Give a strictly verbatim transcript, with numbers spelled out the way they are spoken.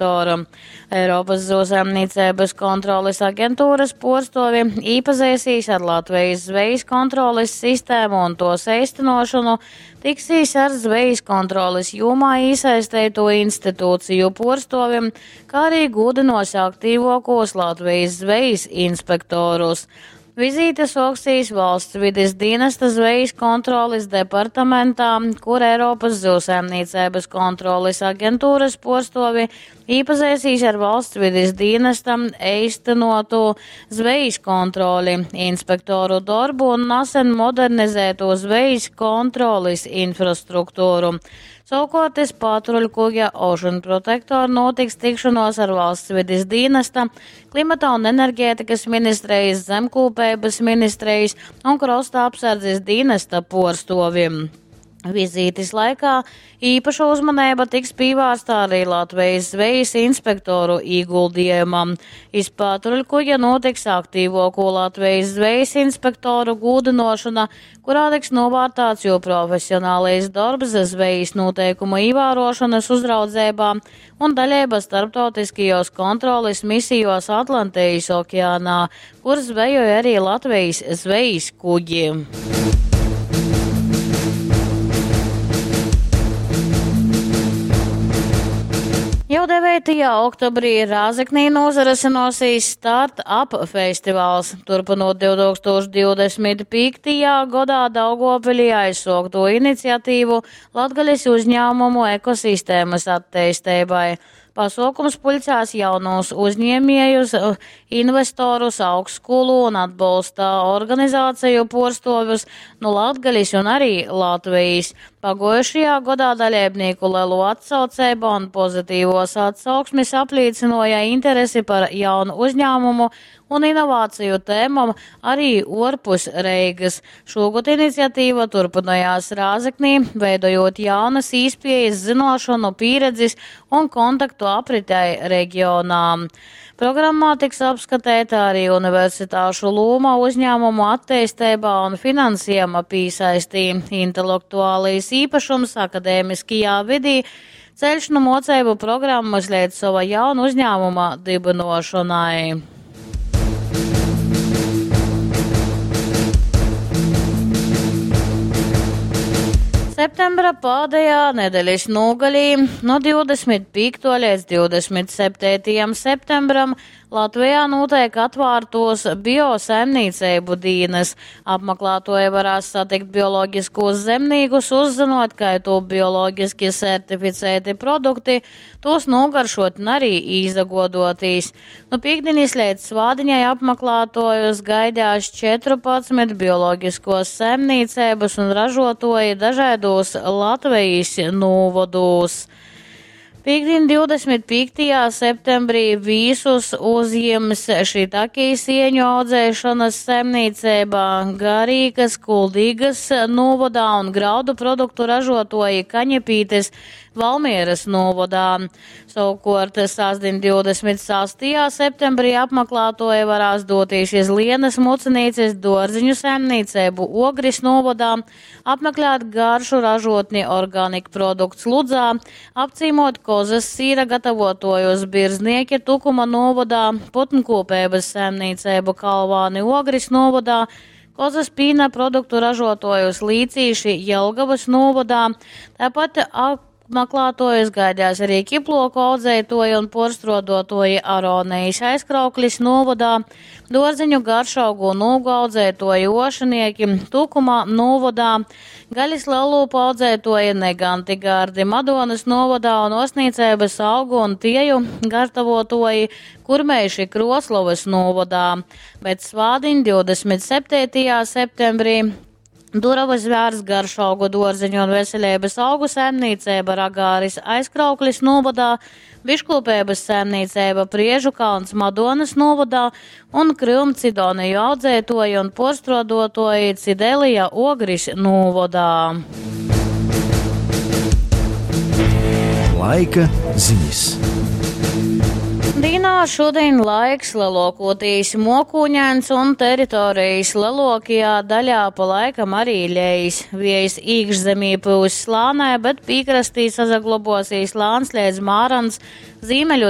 Protektoru. Eiropas zivsaimniecības kontroles aģentūras puorstuovi īpazeisīs ar Latvijas zvejas kontroles sistēmu un tos eistenošanu, tiksīs ar zvejas kontroles jomā īsaisteito institūciju puorstuovim, kā arī gūdinos aktīvokos Latvijas zvejas inspektorus. Vizīte soksīs valsts vides dienesta zvejas kontroles departamentā, kur Eiropas zivsaimniecības kontroles aģentūras puorstuovi īpazeisīs ar valsts vides dienesta eistenotu zvejas kontroli, inspektoru darbu un nesen modernizēto zvejas kontroles infrastruktūru. Savukārt iz patruļkuģa Ocean Protector notiks tikšanos ar valsts vides dienesta, klimata un enerģētikas ministrijas, zemkūpeibas ministrijas un krosta apsardzes dienesta puorstovim. Vizītes laikā īpaša uzmanība tiks pievērsta arī Latvijas zvejas inspektoru ieguldījumam. Iz patruļkuģa notiks aktīvāko Latvijas zvejas inspektoru gūdinošana, kurā tiks novērtēts jo profesionālais darbs zvejas noteikumu ievērošanas uzraudzībā un daļība starptautiskajos kontroles misijos Atlantijas okeānā, kur zvejoja arī Latvijas zvejas kuģi. Jau devītajā oktobrī Rēzeknī nozarasinosīs Start-up festivāls. Turpinot divtūkstoš divdesmit pīktajā gadā Daugavpilī aizsokto iniciatīvu Latgales uzņēmumu ekosistēmas attīstībai. Pasākums puļcās jaunos uzņēmējus, investorus, augstskolu un atbalsta organizāciju puorstuovjus no Latgales un arī Latvijas. Paguojušajā gadā dalībnieku lielu atsauceibu un pozitīvos atsauksmes apliecināja interesi par jaunu uzņēmumu un inovāciju tēmam arī uorpus Reigas. Šogad iniciatīva turpinājās Rēzeknī, veidojot jaunas īspējas, zinošanu, pieredzes un kontaktu apritei reģionā. Programmā tiks apskatīta arī universitāšu loma uzņēmumu attīstībā un finansējuma pīsaistī, intelektuālais īpašums akadēmiskajā vidī, ceļš no mocību programmas līdz sava jaunu uzņēmuma dibinošanai. Septembra pēdējā nedēļas nogalī no divdesmit piekta līdz divdesmit septītajam septembram Latvijā notiek atvārtos biosaimniecību dienas. Apmeklētoji varēs satikt bioloģiskos zemnīgus, uzzinot, kā to bioloģiski certificēti produkti, tos nogaršot un arī izagodotīs. Nu pīkdiņas līdz svādiņai apmeklētojus gaidās četrpadsmit bioloģiskos saimniecības un ražotoji dažādos Latvijas novados. Pīkdien divdesmit pīktajā septembrī visus uzņems šitakī sieņu audzēšanas saimniecība Garīgas, Kuldīgas novadā un graudu produktu ražotoji Kaņepītes Valmieras novadā. Savukārt sastdien divdesmit sastajā septembrī apmeklētoji varēs doties iz Lienas Mucinīces dārziņu saimniecību Ogris novadā, apmeklēt garšu ražotni Organic Products Ludzā, apcīmot kozas sīra gatavotojus Birznieki Tukuma novadā, putnkopības saimniecību Kalvāni Ogris novadā, kozas pīna produktu ražotojus Līcīši Jelgavas novadā, tāpat apmeklētojus gaidās arī ķiploku audzētoji un porstrodotoji Aronijas Aizkrauklis novadā, dārziņu garšaugu un ūgu audzētoji Ošanieki Tukumā novadā, gaļas lielūpu audzētoji Neganti Gārdi Madonas novadā un osnīcēbas augu un tieju gatavotoji Kurmeiši Kroslovas novadā. Bet svādiņ divdesmit septītajā septembrī duravas vērs garšaugu dārziņu un veselības augu saimniecība Ragāris Aizkrauklis novadā, biškopības saimniecība Priežu kalns Madonas novadā un Krymcidoniju audzētoji un porstrodotoji Cidelija Ogris novadā. Laika ziņas. Dīnā Dīnā šudiņ laiks leluokūtīs muokūņains un teritorejis leluokajā daļā pa laikam ari leis. Viejs īkšzemī pyuss lānai, bet pīkrastī sasaglobuosīs lāns leidz mārans zīmeļu